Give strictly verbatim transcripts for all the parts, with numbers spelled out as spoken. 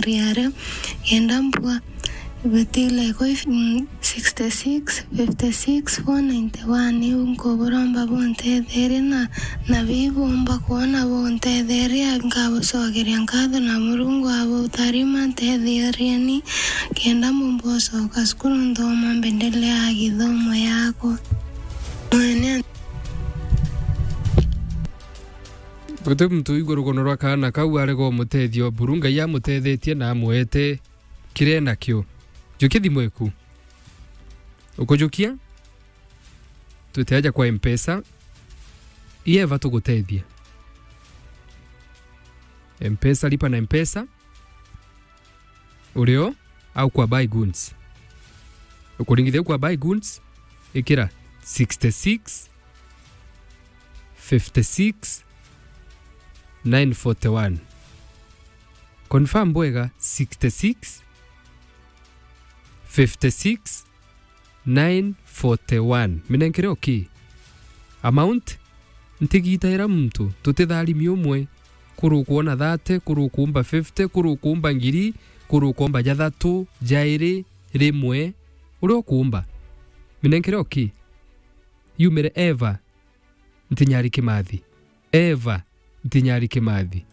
riario, kenda mbua ibutile kwi, mm, sixty six, fifty six, four ninety one. Iu nkuburomba buntetherie na, na bibumba kwona buntetherie, nkabucokeria nkatho na Murungu abutharima, ntetheerieni kenda mbumba ucoka cukuru nthoma mbendelea githomo yakwa. Mwene Guti muntu uigua rugono rwa kaana kau arega umutethia buru Ngai amutethetie na amwete kiria enakio. Jukia thimu eku. Ukujukia? Twite aja kwa Mpesa. Ieva tugutethia. Mpesa, lipa na Mpesa. Urio au kwa buy goods. Ukuringithia kwa buy goods, ikira sixty six, fifty six, nine forty one. Confirm bwega, sixty six, fifty six, nine forty one. Minenkere okay. Amount, ntigita ira muntu, tutitharimi umwe. Kuru ukuona thirty, kuru ukuumba fifty, kuru ukuumba ngiri, kuru ukuumba jathatu, jairi, rimwe, uria ukuumba. Minenkere okay. Yumire Eva Ntinyari Kimathi. Eva Ntinyari Kimathi.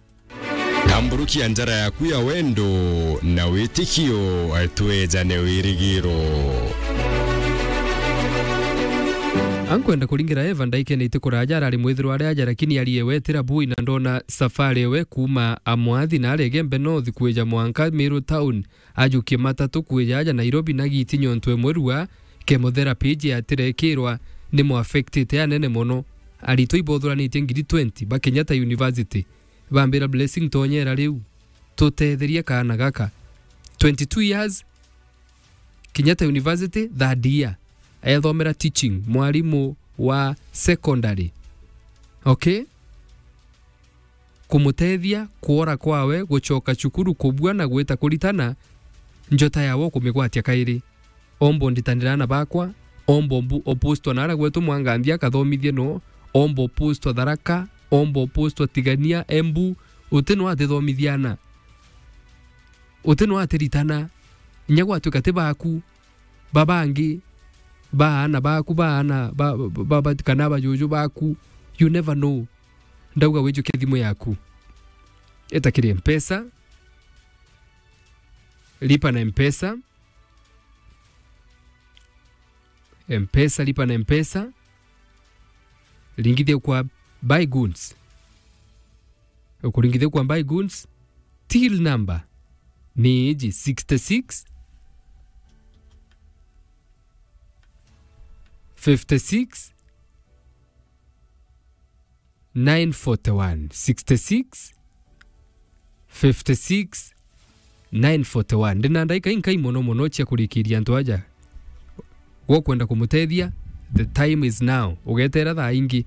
Tamburukia njara yaku ya wendo na witikio, twejane wirigiro. Ankwenda kuringira Eva ndaikene iti kuraja arari mwithirwa ari aja, lakini ari ewe tira bui na ndona safari ewe kuuma Amwathi na ari Igembe North kwija mwanka Meru town. Ajukie matatu kwija aja Nairobi na giti nyontu emwe rua chemotherapy iji atirekirwa ni mu affectite anene mono. Aritwa ibothuranitie ngiri twenty ba Kenyatta University bambira Blessing, tonyera riu tutetherie kaana gaka. Twenty two years, Kenyatta University, third year. Ethomera teaching, mwarimu wa secondary. Okay? Kumutethia kwora kwawe gucoka cukuru, kubua na gwita kuritana, njota yawe ukumigwatia kairi. Omba unditanira aana bakwa, omba umbu-, upostwa naria gwetu Mwanganthi akathomithie no, omba upostwa Tharaka, omba upostwa Tigania, Embu, uti no atithomithia aana. Uti no atiritana, inya gwatuika ti baku, ba bangi, ba aana baku, ba aana ba, ba, ba, ba, kana bajuju baku, you never know. Ndauga wijukie thimu yaku. Eta kiri Mpesa, lipa na Mpesa, Mpesa, lipa na Mpesa, ringithia kwa buy goods. Ukuringithia kwa buy goods, till number ni iji sixty six, fifty six, nine forty one, sixty six, fifty six, nine forty one. Ndina ndaika inkai mono mono cia kurikiria antu aja. Gwokwenda kumutethia, the time is now. Ugetera thaa ingi.